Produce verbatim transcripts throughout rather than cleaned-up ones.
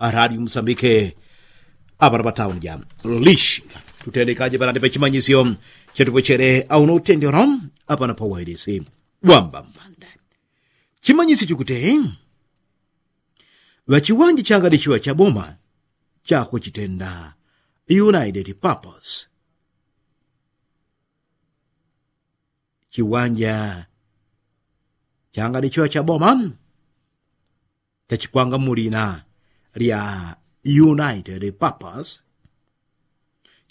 aradi musambike apana patauni ja lishinga. Tutendekaje panandi pachimanyisyo chetupochele auno utendero apana pawailisi wambambanda. Chimanyisyo chukute ŵachiwanje changadi chiŵa chaboma chakuchitenda united purpose. Chiwanja changadi chiŵa chaboma chachikwanga mulina lya united purpose.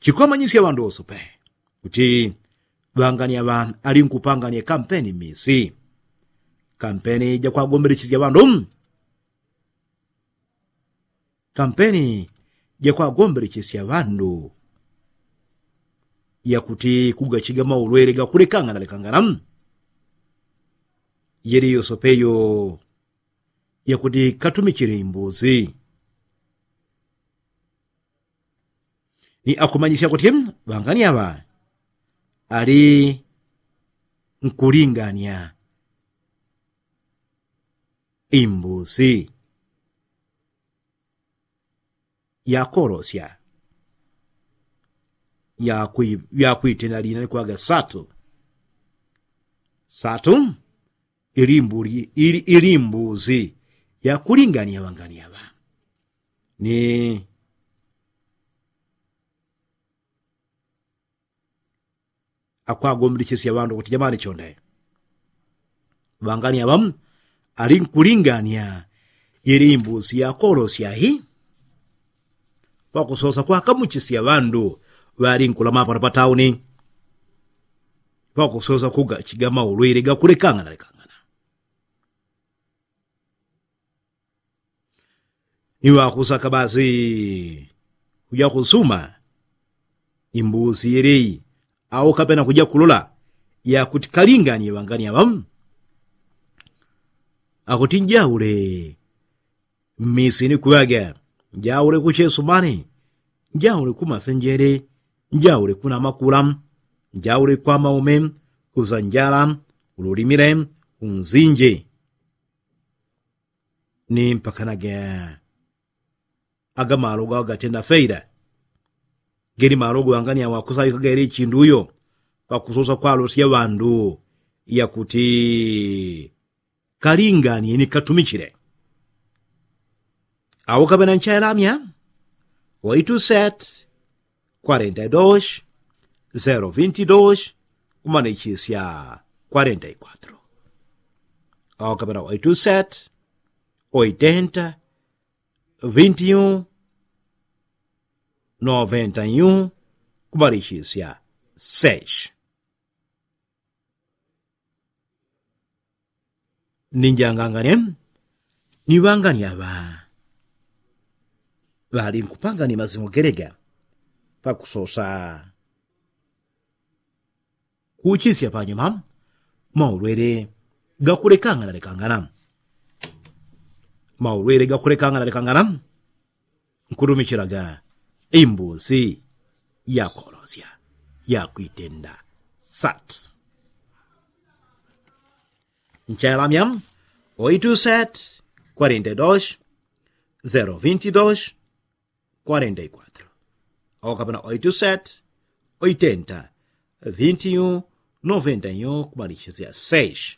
Chikwamanyisya ŵandu wosope kuti ŵangania ŵa alinkupangania kampeni misi. Kampeni jakwagombelechisywa ŵandu kampeni jakwagombelechisywa ŵandu yakuti kugachiga maulwele gakulekangana lekangana. Yeli yosope yo yakuti katumichile imbuzi. Ni akumanyisya kuti ŵangania ŵa ali nkulingania imbuzi yakolosya yakwitenda lina likwaga satu. Satu ili imbuzi yakulingania ŵangania ŵa ni akwagombilichisya ŵandu kuti jamani chonde ŵangania ŵamu ali nkulingania ili imbuzi yakolosya hi. Pakusosa kwakamuchisya ŵandu ŵalinkulama pano patauni pakusosa kugachiga maulwili gakulekangana lekangana. Ni ŵakusaka basi kuja kusuma imbusi yeleyi au kapena kuja kulola yakuti kalinganie ŵangania ŵamu. Akuti njaule mmisi ni kuŵaga njaule kuchesumani njaule kumasenjele njaule kunamakula njaule kwamaume kusanjala ululimile unzinji. Ni mpakanaga aga malogo agatenda feila. Geli malogo angani awakusawika geli chindu uyo pakusosa kwalosya ŵandu yakuti kalinganie ni katumichile. Au kapena nchailamya waitu set kwarenta i dos zero vinti dos kumanichisya kwarenta i kwatro. Au kapena waitu set oitenta vinti un noventa i un kumalichisya seis. Ninjangangane ni ŵangania ŵa ŵalinkupangania mazimu gelega pakusosa kuchisya panyuma maulwele gakulekangana lekangana. Maulwele gakulekangana lekangana nkutumichilaga imbusi yakolosya yakwitenda sat. Nchailamya oitu set kwarenta i dos zero vinti dos kwarenta i kwatro. Au kapena oitu set oitenta vinti un noventa i un kumalichisya seis.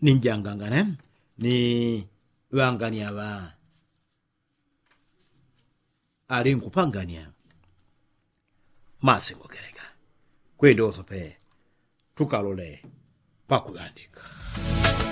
Ninjangangane ni ŵangania ŵa alinkupangania masingo gelega. Kwenda usope tukalole pakuŵandika.